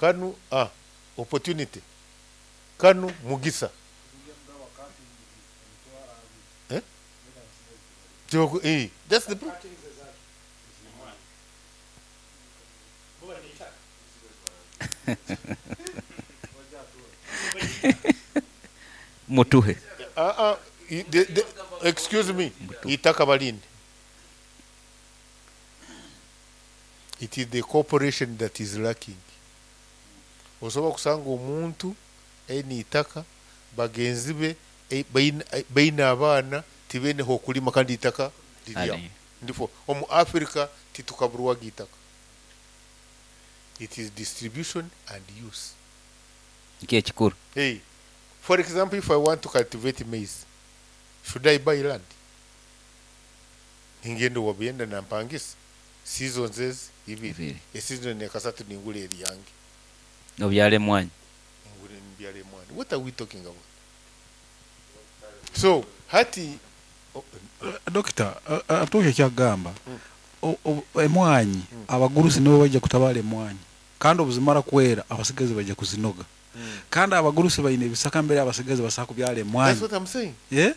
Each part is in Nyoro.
Kanu opportunity, kanu mugisa. Eh? That's the problem. Mutuhe. Excuse me, itaka balinde. It is the cooperation that is lacking. Osobola kusanga omuntu aine itaka, bagenzi be baine abaana tibaine h'okulima kandi itaka liri aho. Ndifo omu Africa titukaburwaga itaka. It is distribution and use. Nikyo ekikuru. Hey, for example, if I want to cultivate maize, should I buy land? Ningenda owa Buyenda nampangisa seasons ezi ibiri, Ibiri. Eseason ekasatu ningura eryange. Obyara emwanyi. Ngure mbyara emwanyi. What are we talking about? So hati Dokita, Atuhe ekyakugamba, emwanyi abagurusi nibo baija kutabara emwanyi, kandi obuzimara kwera abasigazi baija kuzinoga. Kandi abagurusi baine ebisaka mbere abasigazi basobola kubyara emwanyi. That's what I'm saying. Eh?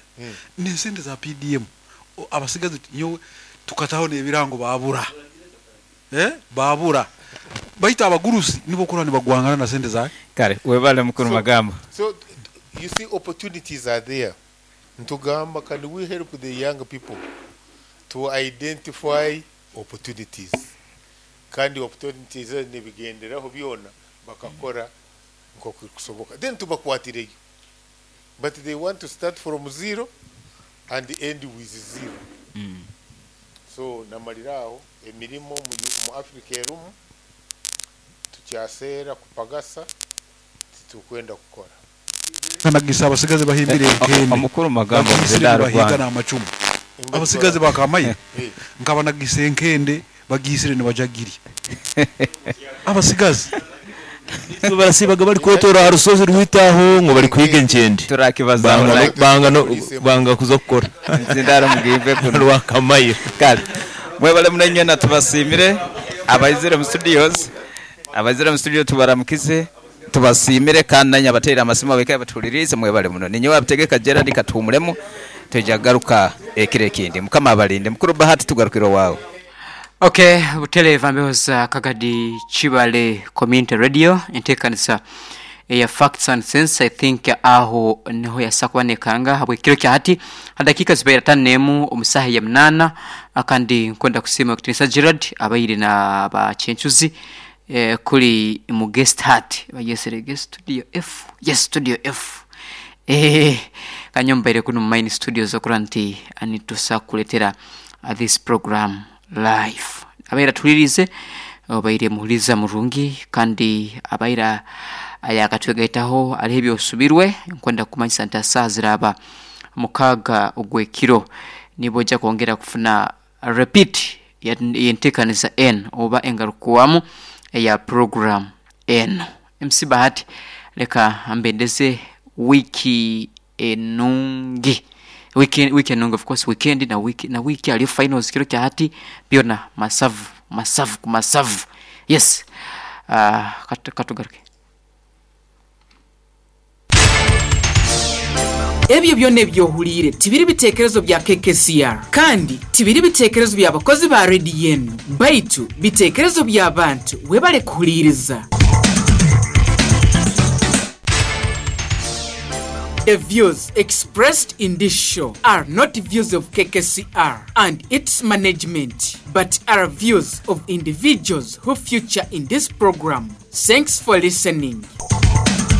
N'esente za PDM abasigazi nyowe tukataho n'ebirango babura. Eh? Babura. Baitu abagurusi nibo kurora nibagwangana na sente za Kare, webale mukuru Magambo. So you see, opportunities are there. Ntugamba, can we help the young people to identify opportunities? Kandi opportunities nibigenderaho byona bakakora nkoku kusoboka. Then tubakwatireyo. But they want to start from zero and end with zero. So namaliraho emirimo mu Africa erumu tukyaseera kupagasa titukwenda kukora. Kanagisa abasigazi bahimbire enkende. Omukuru Magambo Bagisire Zidaro nibahiga Rwanda. n'amacumu. Abasigazi bakamaye nkabanagisa enkende bagisire nibajagiri. Abasigazi barasibaga bari kotora ha rusozi rwitaho ngo bari kwiga enkende. Turakibaza Banga no banga kuza kukora. Zindaro mugimbe kuno. Rwakamaye. Kale. Mwebale munenye na tubasimire abaizire mu studios. Abaizire mu studio tubaramukize. Tubasimire kandi nanye abateera amasimu abeka batulirize mwebale muno. Ninye wabitegeka Gerard Katumulemu tujagaruka ekire ekindi. Mukama abalinde. Mukuru Bahati tugarukiro wawe. Okay, butereeva mbeho za Kagadi Kibale Community Radio enteekanisa eya Facts and Sense. I think aho niho yasa kubanekanga habwekiro kya hati hadakiika zibaire atano n'emu omu saaha ya munaana, kandi nkwenda kusiima Kutinisa Gerard abaire na bakyencuzi kuri mu guest hut bagyesere guest studio F, yes, studio F. Kanywa mbaire kunu mu main studios okura nti nitusa kukuletera this program live. Abaire atulirize obaire muhuriza murungi kandi abaire ayakatwegaitaho ariho ebyosubirwe nkwenda kumanyisa nti asaaha ziraba mukaaga ogw'ekiro nibo ojja kwongera kufuna repeat y'enteekaniza enu oba engarukuwamu eya program enu. MC Bahati leka mbendeze wiiki enungi. Wiki, wiki enungi of course weekend na wiki na wiki aliyo finals kiro kya hati byona masavu masavu ku masavu. Yes. Katugaruke. Ebyo byona ebi ohuliire tibiri biteekerezo bya KKCR kandi tibiri biteekerezo by'abakozi ba rediyo enu, baitu biteekerezo by'abantu. Webale kuhuliiriza. The views expressed in this show are not views of KKCR and its management, but are views of individuals who feature in this program. Thanks for listening.